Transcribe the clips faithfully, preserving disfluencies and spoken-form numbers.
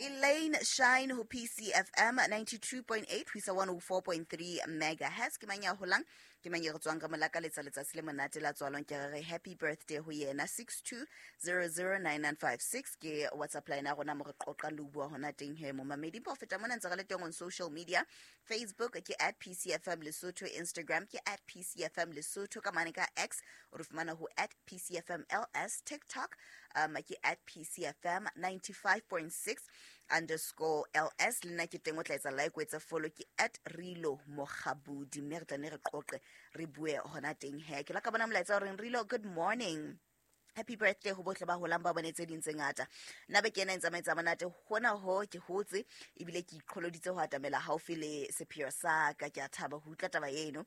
Elaine Shine ho P C F M ninety-two point eight ho isa one oh four point three megahertz. Ke mang ya holang? Ke mang ya re tswang ka molaka letsa letsatsi le monate la tswalong? Ke re happy birthday ho yena. Six two zero zero nine nine five six ke WhatsApp line ya rona mo re qoqang le ho bua hona teng he momamedi. Ho feta mona ntse re le teng on social media. Facebook ke at P C F M Lesotho, Instagram ke at P C F M Lesotho, ka mane ka X o re fumana ho at P C F M L S, TikTok um ke at P C F M ninety-five point six underscore L S. Le nna ke teng o tla etsa like, o etsa follow ke at Rilo Mokgabudi, mme re tla ne re qoqe re bue hona teng he. Ke la ka bona molaetsa o reng Rilo, good morning, happy birthday ho bohle ba holang ba bone tse ding tse ngata. Nna be ke ena e ntsamaetsa monate hona ho ke hotse ebile ke iqholoditse ho atamela haufi le sepheo sa ka. Ke a thaba ho utlwa taba eno,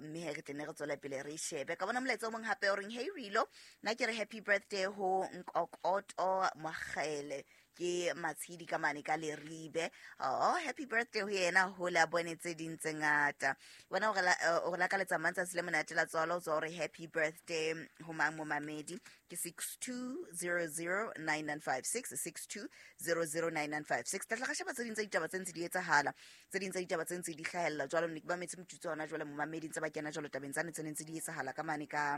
mme he re tle ne re tswele pele re shebe. Ka bona molaetsa o mong hape o reng hey Rilo, nna ke re happy birthday ho Nkokoto Mokgele ke Matshidi ka mane ka Leribe. Oh, happy birthday ho yena, ho la bone tse ding tse ngata. Bona o re o re lakaletsa matsatsi le monate la tswalo, o tswa hore happy birthday ho mang momamedi ke six two zero zero nine nine five six, six two zero zero nine nine five six. Tla tla sheba tse ding tsa ditaba tse ntse di etsahala, tse ding tsa ditaba tse ntse di hlahella jwalo. Ne ke ba metse motjutso hona jwale momamedi ntse ba kena jwalo tabeng tsane tse ntse di etsahala ka mane ka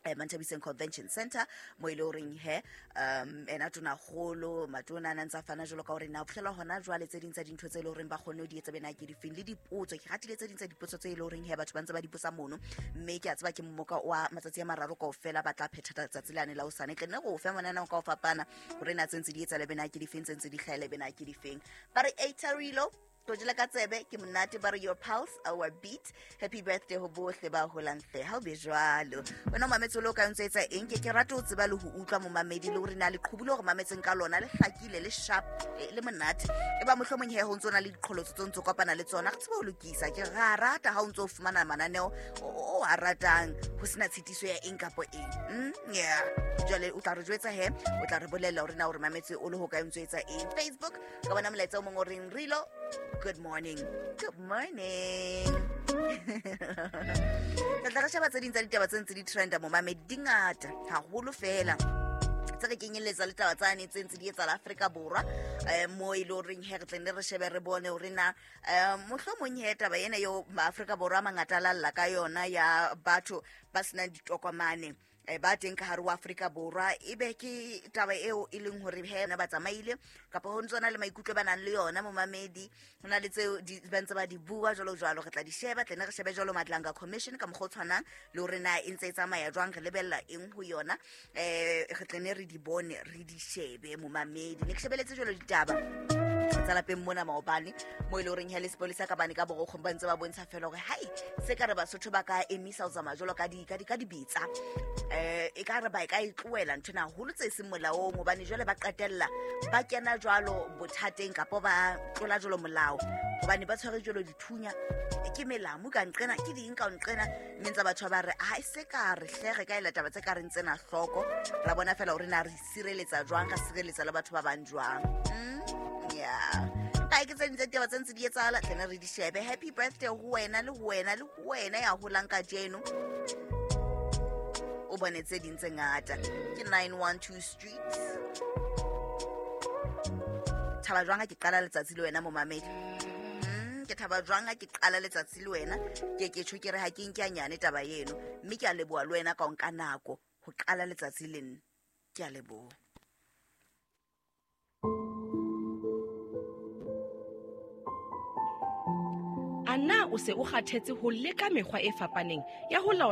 eh Manthabiseng Convention Center mo ile horeng he um ena tona kgolo matona a ntsa fana jwalo ka hore na phela hona jwale tse ding tsa dintho tse le horeng ba kgonne ho di etsa bena ke difeng le dipotso. Ke ratile tse ding tsa dipotso tse le horeng he batho ba ntse ba di botsa mono, mme ke a tseba ke mmoka wa matsatsi a mararo kaofela ba tla phetha letsatsi lane la hosane. Tle nne go fe monana ka ho fapana hore na tse ntse di etsa le bena ke difeng, tse ntse di hlahele bena ke difeng. Ba re Eitarilo Tojela ka tsebe ke monate, ba re your pulse our beat. Happy birthday ho bohle ba holang hle, ha o be jwalo. Wena o mametse o ka ntse etsa eng? Ke ke rata ho tseba le ho utlwa momamedi le hore na leqhubu le hore mametseng ka lona le hlakile le sharp le monate. E ba mohlomong he ho ntso na le diqholotso tse ntso kopana le tsona, re tsebe ho lokisa. Ke ra rata ha o ntso fumana mananeo o a ratang ho sena tshitiso ya eng kapo eng. Mm, yeah. Jwale o tla re jwetsa he, o tla re bolella hore na hore mametse o le ho ka ntso etsa eng. Facebook ka bona molaetsa o mong o reng Rilo, good morning. Good morning. Tla re sheba tse ding tsa ditaba tse ntse di trenda momamedi, di ngata haholo fela. Tse re kenyelletsa le taba tsane tse ntse di etsahala Afrika Borwa, eh mo e le horeng he re tle ne re shebe re bone hore na mohlomong he taba ena eo Afrika Borwa a mangata a lalla ka yona ya batho ba senang ditokomane ba teng ka hare ho Afrika Borwa, ebe ke taba eo e leng hore he ba tsamaile kapa ho ntse na le maikutlo ba nang le yona momamedi, ho na le tseo ba ntse ba di bua jwalo jwalo. Re tla di sheba, tle ne re shebe jwalo Madlanga Commission ka mokgwa o tshwanang le hore na e ntse e tsamaya jwang, re lebella eng ho yona, eh re tle ne re di bone re di shebe momamedi. Ne ke shebeletse jwalo ditaba tsa lapeng mona maobane mo e le horeng he le sepolisa ka bane ka borokgong ba ntse ba bontsha fela hore hai se ka re Basotho ba ka emisa ho tsamaya jwalo ka di ka di ka dibetsa, eh e ka re ba e ka e tlohela ntho ena haholo tse seng molaong, hobane jwale ba qetella ba kena jwalo bothateng kapa ba tlola jwalo molao, hobane ba tshwere jwalo dithunya ke melamu ka nqena ke ding ka nqena, mme ntse batho ba re ha e se ka re hle re ka ela taba tse ka reng tsena hloko, ra bona fela hore na re sireletsa jwang, ra sireletsa le batho ba bang jwang. Mm, yeah. Kae ke tse ding tsa ditaba tse ntse di etsahala, tle ne re di shebe. Happy birthday ho wena le ho wena le ho wena ya holang kajeno, o bone tse ding tse ngata. Ke nine one two Street. Thaba jwang ha ke qala letsatsi le wena momamedi? Mm, ke thaba jwang ha ke qala letsatsi le wena? Ke ke tjho ke re ha ke nke nyane taba eno, mme ke a leboha le wena ka o nka nako ho qala letsatsi le nna. Ke a leboha. Ana o se o kgathetse ho leka mekgwa e fapaneng ya ho laola